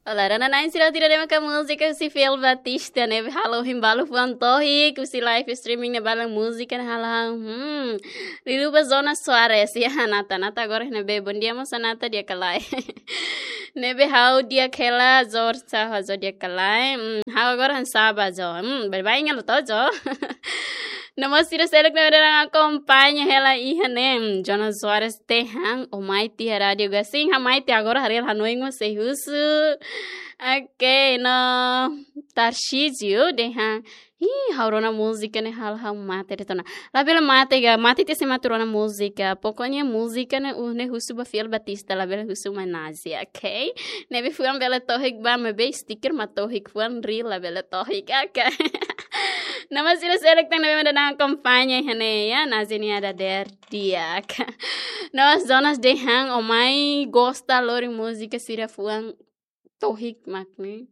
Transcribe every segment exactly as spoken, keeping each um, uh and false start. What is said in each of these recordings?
Olá, rona na'in sira tira dema ka múzika husi Fiel Batista ne'ebé halo ohin balu fuan tohik, husi live streaming ne'e balu múzika ne'e halo, hmm, liuliu ba Jonas Soares, ya, Nata, Nata agora ne'ebé, bom dia, moça Nata, di'ak ka lae. Ne'ebé ha'u di'ak hela, Jor sa, ha'u di'ak ka lae, hmm, ha'u agora hanesan sá ba Jo, hmm, baibain halo to'o Jo. No mós sira seluk ne'ebé daudaun akompaña hela iha ne'e, hmm, Jonas Soares dehan, ó mai tiha rádiu ga, sin, ha'u mai tiha agora, haree hanoin mós sei husu. Ok, no Tarcísio dehan, ih, ha'u rona múzika ne'e halo ha'u mate de'it ona. Labele mate ga, mate tiha se mate rona múzika. Pokoknya múzika ne'e, uh, ne'e husu ba Fiel Batista, labele husu mai Nazia, ok? Ne'ebé fuan bele tohik ba, maibé sticker mak tohik, fuan real labele tohik, ok? No mós sira seluk tan ne'ebé daudaun akompaña iha ne'e, ya, Nazia nia dadeer di'ak. No Jonas dehan, ó mai gosta lori múzika sira fuan tohik mak ne'e.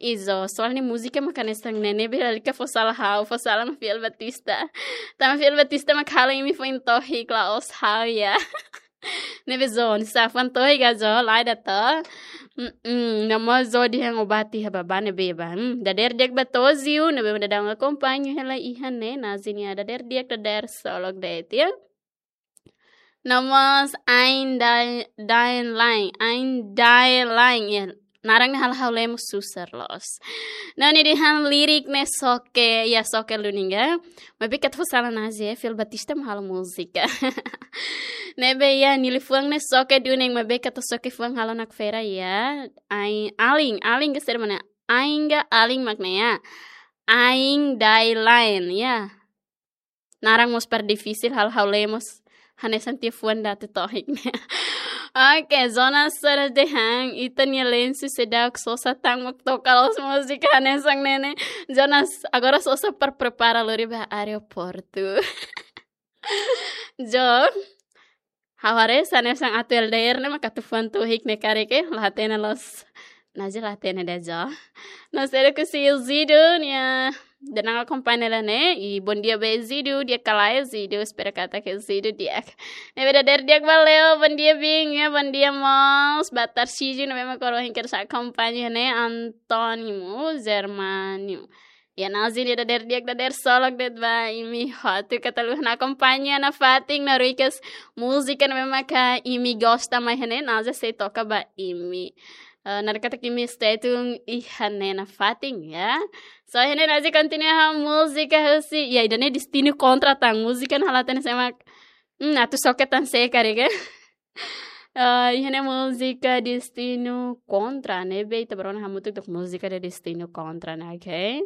Izo, soalnya múzika mak hanesan ne'e, ne'ebé lalika fó sala ha'u, fó sala mak Fiel Batista. Tanba Fiel Batista mak halo imi foin tohik, la'ós ha'u, ya. Ne'ebé Jo, hanesan fuan tohik ga Jo, lae ida to. Mm-mm, no mós Jo dehan ó bá tiha ba, bá ne'ebé bá. Hmm, dadeer di'ak ba Tozio, ne'ebé daudaun akompaña hela iha ne'e, Nazia nia dadeer di'ak, dadeer solok de'it, ya. No mós Ain Dai-, Dain Lain, Ain Dain Lain, ya. Naran ne'e halo ha'u lemos susar loos. No nia dehan lirik ne'e xoke, ya, xoke duni ga. Maibé keta fó sala Nazia, Fiel Batista mak halo múzika. Ne'ebé ya, nia liafuan ne'e xoke duni, maibé keta xoke fuan halo nakfera ya. Ain, alin, alin ka saida mak ne'e? Ain ka alin mak ne'e ya. Ain Dai Lain, ya. Naran mós para difisil, halo ha'u lemos. Hanesan tiha fuan ida tohik. Ok, Jonas Soares dehan, ita-nia lensu seidauk sosa tan mak toka loos múzika hanesan ne'e. Jonas, agora sosa para prepara lori ba aeroportu. Jo, ha'u haree hanesan atu L D R ne'e mak atu fuan tohik ne'e karik, la hatene loos. Nazia la hatene de'it Jo. No seluk husi Zidu, nia daudaun akompaña hela ne'e. I bom dia ba Zidu, di'ak ka lae Zidu, espera katak Zidu di'ak. Ne'ebé dadeer di'ak ba Leo, bom dia Bing, ya, bom dia mós ba Tarcísio, ne'ebé mak agora ohin kedas akompaña ne'e, António Germano. Ya, Nazia nia dadeer di'ak, dadeer solok de'it ba imi hotu, keta haluha akompaña nafatin, no ruikas múzika ne'ebé maka imi gosta mai iha ne'e, Nazia sei toka ba imi. Eh, naran katak imi stay tune iha ne'e nafatin, ya. So, iha ne'e Nazia kontinua ho múzika husi, ya, ida-ne'e Destino Kontra tan, múzika ne'e la hatene sé mak, hmm, atu xoke tan sé karik. Eh, iha ne'e múzika Destino Kontra, ne'ebé ita bele rona hamutuk tok múzika de Destino Kontra ne'e, ok?